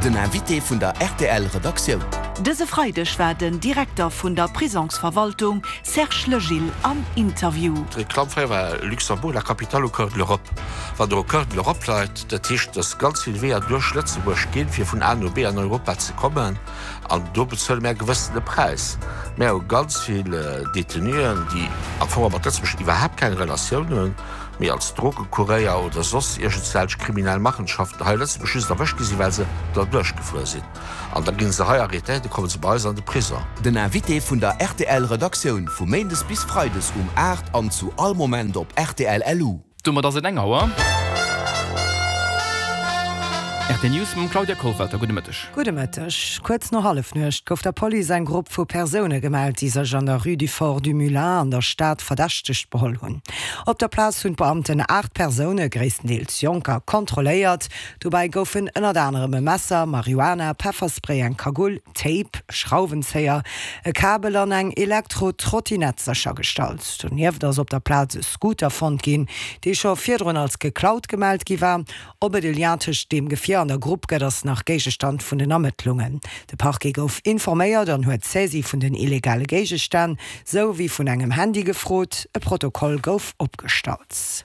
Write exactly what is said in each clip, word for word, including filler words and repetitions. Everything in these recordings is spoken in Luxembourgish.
Den Invité vun der rtl Redaktioun. Dëse Freideg war den Direkter vun der Prisongsverwaltung Serge Legil am Interview. D'Reklamm fréier war Luxembourg, la capitale au cœur de l'Europe. Wann Der au cœur de l'Europe leit, dat heescht, dass ganz vill Weeër duerch Lëtzebuerg ginn, fir vun A no B an Europa ze kommen. An do bezuele mär e gewëssene Präis. Mär hu ganz vill Detenuen, déi am Fong mat Lëtzebuerg iwwerhaapt keng Relatioun hunn, mee als Drogekuréier oder soss iergendwelch kriminell Machenschaften hei a Lëtzebuerg just erwëscht gi sinn, well se derduerch gefuer sinn. An da gi se hei arrêtéiert, da komme se bei eis an de Prison. Den Invité vun der rtl Redaktioun vu Méindes bis Freides um aacht an zu all Moment op rtl LU. Domat ass et eng Auer. Rtl News mam Claudia Kollwelter. Gudde Mëtteg. Gudde Mëtteg. Kuerz no Hallefnuecht gouf der Police eng Grupp vu Persoune gemellt, déi sech an der Rue du Fort du Moulin an der Stad verdächtegt beholl hunn. Op der Plaz hunn d'Beamten aacht Persoune, gréisstendeels Jonker, kontrolléiert. Dobäi goufen ënnert anerem e Messer, Marihuana, Pefferspray, eng Kagull, Tape, Schrauwenzéier, e Kabel an eng Elektro-Trottinett séchergestallt. Donieft ass op der Plaz e Scooter fonnt ginn, dee scho virdrun als geklaut gemellt gi war. Ob et e Lien tëscht deem Gefier an der Grupp gëtt, ass nach Géigestand vun den Ermëttlungen. De Parquet gouf informéiert an huet d'Saisie vun den illegale Géigestänn, sou wéi vun engem Handy gefrot. E Protokoll gouf opgestallt.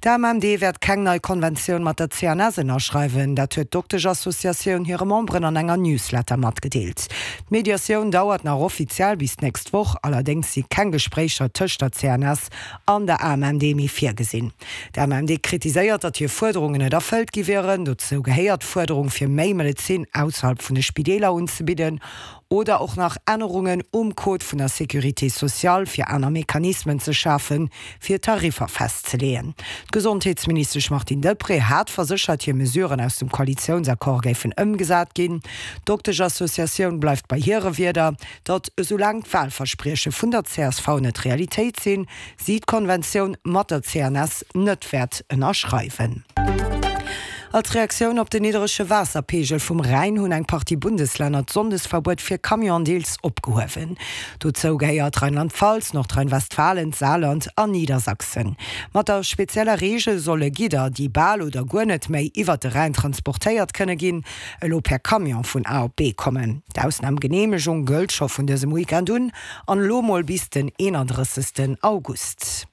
D'AMMD wäert keng nei Konventioun mat der C N S ënnerschreiwen. Dat huet d'Doktesch-Associatioun hire Memberen an enger Newsletter matgedeelt. D'Mediatioun dauert nach offiziell bis d'nächst Woch, allerdéngs si keng Gespréicher tëscht der C N S an der A M M D méi virgesinn. D'A M M D kritiséiert, datt hir Fuerderungen net erfëllt gi wieren. Dozou gehéiert d'Fuerderung fir méi Medezin ausserhalb vun de Spideeler unzebidden oder och nach Ännerungen um Code vun der Sécurité sociale fir aner Mechanismen ze schafen, fir Tariffer festzeleeën. D'Gesondheetsministesch Martine Deprez hat verséchert, hir Mesuren aus dem Koalitiounsaccord géifen ëmgesat ginn. D'Doktesch-Associatioun bleift bei hire Wierder, datt esoulaang d'Walversprieche vun der C S V net Realitéit sinn, si d'Konventioun mat der C N S net wäert ënnerschreiwen. Als Reaktioun op den nidderege Waasserpeegel vum Rhäin hunn eng Partie Bundeslänner d'Sonndesverbuet fir Camionen deels opgehuewen. Dozou gehéiert Rheinland-Pfalz, Nordrhein-Westfalen, d'Saarland an Niedersachsen. Mat der spezieller Reegel solle Gidder, déi bal oder guer net méi iwwert de Rhäin transportéiert kënne ginn, elo per Camion vun A op B kommen. D'Ausnamgeneemegung gëllt scho vun dësem Weekend un an elo mol bis den eenandrëssegsten August.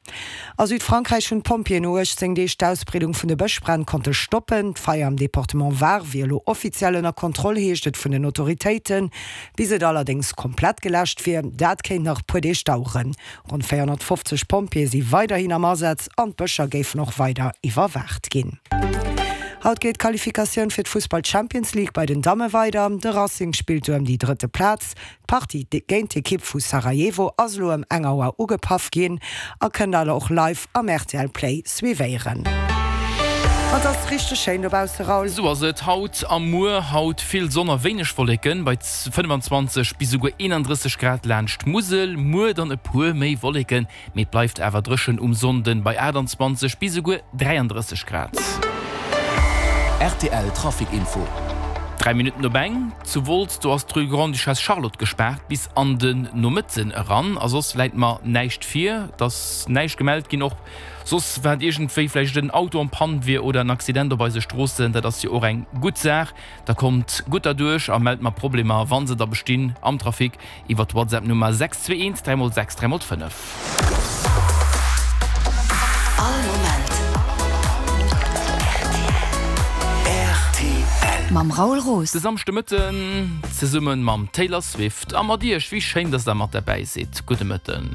A Südfrankräich hunn d'Pompjeeën no uechtzéng Deeg d'Ausbreedung vun de Bëschbränn konnte stoppen. D'Feier am Departement Var wier elo offiziell ënner Kontroll, heescht et vun den Autoritéiten. Bis et allerdéngs komplett geläscht wier, dat kéint nach e puer Deeg daueren. Ronn véierhonnertfofzeg Pompjeeë si weiderhin am Asaz an d'Bëscher géifen och weider iwwerwaacht ginn. Haut geet d'Qualifikatioun fir d'Fussball-Champions League bei den Damme weider. De Racing spillt do ëm déi drëtte Plaz. D'Partie géint d'Ekipp vu Sarajevo ass elo ëm eng Auer ugepaff ginn a kënnt der och live am R T L Play suivéieren. Et ass richteg schéin dobausse, Raoul. Sou ass et haut a muer. Haut vill Sonn a wéineg Wolleken bei fënnefanzwanzeg bis esouguer eenandrësseg Grad laanscht d'Musel. Muer dann e puer méi Wolleken, mee et bleift awer dréchen um Sonnden bei aachtanzwanzeg bis esouguer dräiandrësseg Grad. R T L Trafic Info. Dräi Minutten op eng. Zu Wolz, do ass d'Rue Grande-Duchesse Charlotte gespaart bis an den Nomëtten eran. A soss läit mer näischt vir. Et ass näischt gemellt ginn, och soss wat iergendwéi vläicht en Auto en panne wier oder en Accident op eise Stroossen. Dat ass jo och eng gutt Saach. Da kommt gutt derduerch a mellt mer Problemer, wa se da bestinn am Trafic iwwer d'WhatsApp-Nummer sechs zwee eent dräi mol sechs dräi mol fënnef. All Moment R T L. Mam Raoul Roos. De Samschdemëtten zesumme mam Taylor Swift a mat Iech. Wéi schéin, dass der mat derbäi sidd. Gudde Mëtten.